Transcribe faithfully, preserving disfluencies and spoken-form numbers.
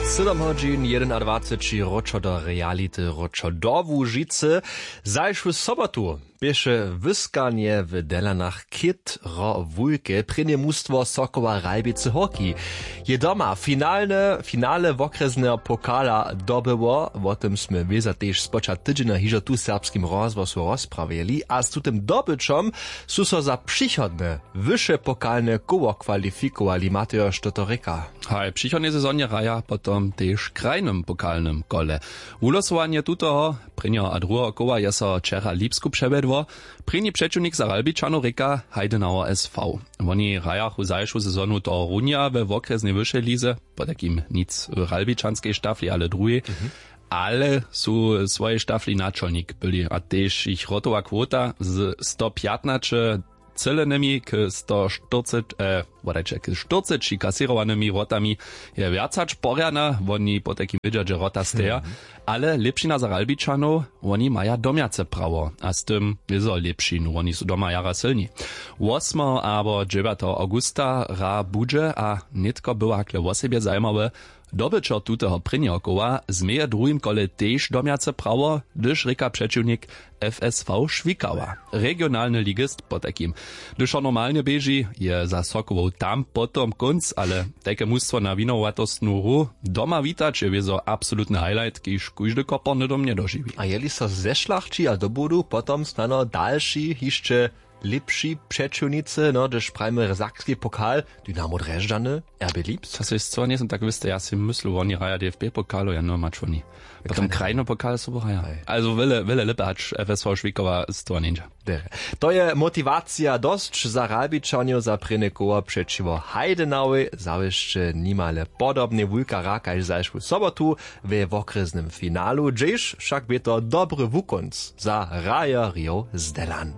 Sydom hodźin jedenadwaceći, wróćo do reality, wróćo do Łužicy. Zašłu sobotu běše wyskanje w Delanach chětro wulke. Prěnje mustwo Sokoła Ralbicy Hórki je doma finalne finale wokrjesneho pokala dobyło. Wo tym smy wěza tež spočatk tydźenja hižo tu w Serbskim rozhłosu rozprawjeli a z tutym dobyćom su so za přichodne wyše pokalne koło kwalifikowali. Matejo, što to rěka? Haj, přichodnej sezonje hraja potom tež w krajnym pokalnym kole. Wulosowanje tutoho prěnjeho a druheho koła je so wčera w Lipsku přewjedło. Prěni přećiwnik za Ralbičanow rěka Heidenauer S V. Woni hrajachu zašłu sezonu tohorunja we wokrjesnej wyšej lize, potajkim nic w ralbičanskej štafli, ale druhej. Ale su w swojej štafli načolnik byli a tež jich wrotowa kwota z sto pjatnaće třělenymi k sto štyrceći, wodajće k štyrceći kasěrowanymi wrotami je wjac hač porjana. Woni potajkim wědźa, dźe wrota steja. Ale lěpšina za Ralbičanow, woni maja domjace prawo a z tym wězo lěpšinu, woni su doma jara sylni. Wosmeho abo dźewjateho awgusta hra budźe a nětko była hakle wosebje zajimawe. Dobyćo tuteho prěnjeho koła změje w druhim kole tež domjace prawo, hdyž rěka přećiwnik F S V Šwikawa, regionalny ligist potajkim. Hdyž so normalnje běži, je za Sokołow tam potom kónc, ale tajke mustwo na winowatostnu hru doma witać je wězo absolutny highlight, kiž kóždy koporny dom njedožiwi. A jeli so zešlachći a dobudu potom snano dalši hišće lěpši přećiwnicy, no hdyž prajimy sakski pokal, Dynamo Drježdźany, R B Lips? To sej scyła njejsym tak wěsty, ja sej myslu, woni hraja D F B pokalu, ja no mač woni. Potom krajny pokal sobu hraja. Also wjele wjele lěpje hač F S V Šwikowa scyła njeńdźa. To je motiwacija dosć za Ralbičanjow za prěnje koło přećiwo Heidenauej. Zawěsće nimale podobnej wulka hra kaž zašłu sobotu we wokrjesnym finalu, hdźež wšak bě to dobry wukónc za hrajerjow z Delan.